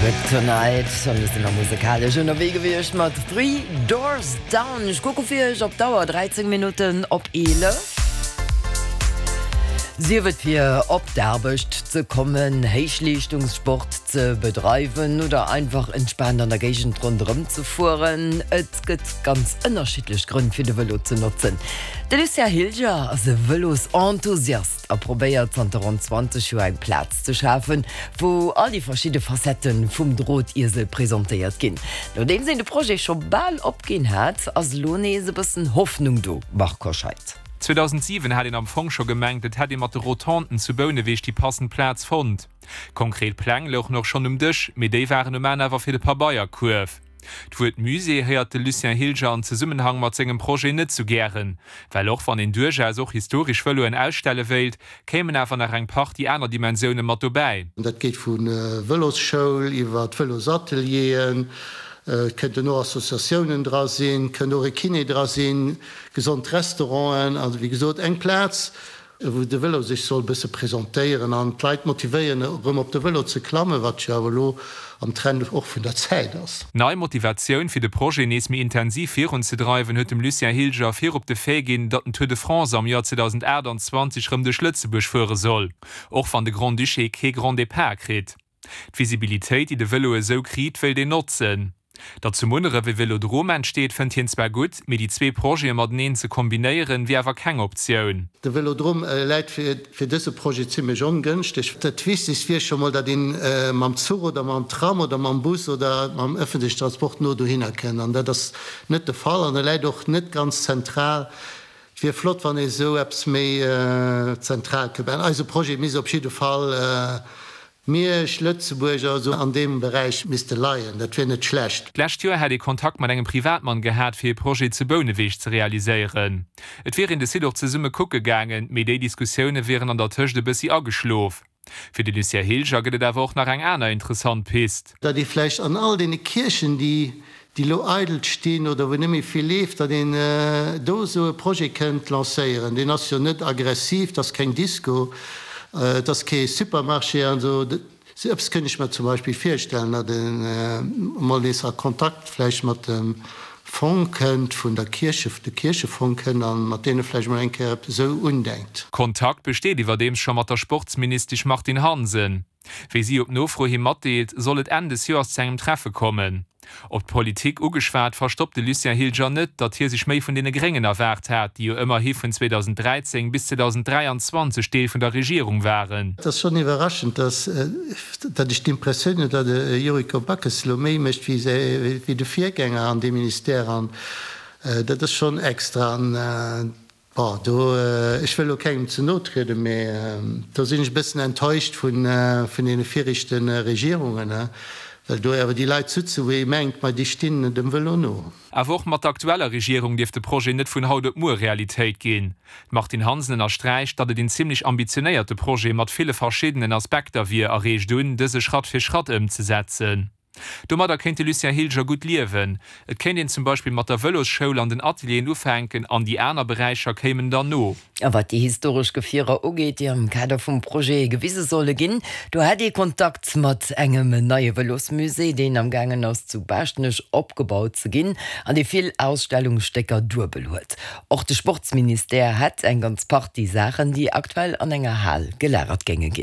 Kryptonite. An mir sinn nach musekalesch ënnerwee gewiescht mat Three Doors Down. Ech kucke fir iech op d'Auer, 13 Minutten op 11. Sief et fir op d'Aarbecht ze kommen, Héichleeschtungssport ze bedreiwen oder einfach entspaant an der Géigend ronderëm ze fueren, et gëtt ganz ënnerschiddlech Grënn fir de Vëlo ze notzen. De Lucien Hilger ass e Vëlosenthusiast a probéiert zanter ronn 20 Joer eng Plaz ze schafen, wou all déi verschidde Facettë vum Drotiesel presentéiert ginn. Nodeems een de Projet scho bal opginn hat, ass elo nees e bëssen Hoffnung do, Marc Hoscheid. 2007 hat een am Fong scho gemengt, et hätt ee mat de Rotonden zu Bouneweg déi passend Plaz fonnt. Konkret Pläng louchen och schonn um Dësch, mee déi waren um Enn awer fir de Pabeierkuerf. D'Wuert Musée héiert de Lucien Hilger an Zesummenhang mat sengem Projet net sou gären, well och wann een duerchaus och historesch Vëloen ausstelle wéilt, kéimen awer nach eng Partie aner Dimensioune mat dobäi. Dat geet vu Vëlosschoul iwwer Vëlosatelieren, et kënnten och Associatiounen dra sinn, et kënnt och e Kiné dra sinn, gesond Restauranten, also wéi gesot eng Plaz, wou de Vëlo sech soll bësse presentéieren an d'Leit motivéieren erëm op de Vëlo ze klammen, wat jo awer elo am Trend och vun der Zäit ass. Nei Motivatioun fir de Projet nees méi intensiv virunzedreiwen huet dem Lucien Hilger virop de Fait ginn, datt den Tour de France am Joer 2028 rëm duerch Lëtzebuerg fuere soll, och wann de Grand-Duché kee Grand Départ kritt. D'Visibilitéit, déi de Vëlo esou kriit, wéilt een notzen. Datt zu Munneref e Vélodrom entsteet, fënnt hien zwar gutt, mee déi zwee Projete mateneen ze kombinéieren, wier awer keng Optioun. De Vélodrom läit fir dëse Projet zimmlech ongënschteg. Dat Wichtegst wier scho mol, datt ee mam Zuch oder mam Tram oder mam Bus oder mam ëffentlechen Transport no dohinner kënnt. An dat ass net de Fall an e läit och net ganz zentral. Et wier flott, wann ee sou eppes méi zentral kënnt maachen. Eise Projet misst op jidde Fall Miersch, Lëtzebuerg, also an deem Beräich misste leien. Dat wier net schlecht. D'lescht Joer hätt ee Kontakt mat engem Privatmann gehat, fir ee Projet zu Bouneweg ze realiséieren. Et wier een de Site och zesumme kucke gaangen, mee déi Diskussioune wieren an der Tëscht e bëssi ageschlof. Fir de Lucien Hilger gëtt et awer och nach eng aner interessant Pist. Datt ee vläicht an all deene Kierchen, déi elo eidel stinn oder wou net méi vill leeft, datt een do esou e Projet kënnt lancéieren. Deen ass jo net aggressiv, et ass keng Disco, et ass kee Supermarché an esou. Esou eppes kënnt ech mer zum Beispill virstellen, datt ee mol nees a Kontakt vläicht mat dem Fong kënnt, vun der Kierche, de Kierchefong kënnt a mat deene vläicht mol eng Kéier eppes esou undenkt. Kontakt besteet iwwerdeems scho mat der Sportsministesch Martine Hansen. Wéi si op Nofro hi matdeelt, soll et Enn des Joers zu engem Treffe kommen. Op d'Politik ugeschwat, verstoppt de Lucien Hilger net, datt hie sech méi vun deene Gréngen erwaart hat, déi jo ëmmerhi vun 2013 bis 2023 Deel vun der Regierung waren. Et ass schonn iwwerraschend, datt datt ech d'Impressioun hunn, datt de Yuriko Backes elo méi mécht wéi de Virgänger an deem Ministère an dat ass schonn extra. An bon, do, ech wëll elo kengem ze no trieden, mä do sinn ech e bëssen enttäuscht vun deene viregte Regierungen, well do awer déi Leit sutzen, wou ee mengt, ma déi stinn dem Vëlo no. Awer och mat der aktueller Regierung dierft de Projet net vun haut op muer Realitéit ginn. D'Martine Hansen ënnersträicht, datt et een zimmlech ambitionéierte Projet mat ville verschiddenen Aspekter wier a reegt un, dëse Schratt fir Schratt ëmzesetzen. Domadder kéint de Lucien Hilger gutt liewen. Et kéint een zum Beispill mat der Vëlosschoul an den Atelieren ufänken an déi aner Beräicher kéimen dann no. A wat déi historesch Gefierer ugeet, déi am Kader vum Projet gewise solle ginn, do hätt ee Kontakt mat engem neie Vëlosmusée, deen am gaangen ass zu Baaschtnech opgebaut ze ginn an dee vill Ausstellungsstécker duebel huet. Och de Sportsministère hätt eng ganz Partie Saachen, déi aktuell an enger Hal gelagert géinge ginn.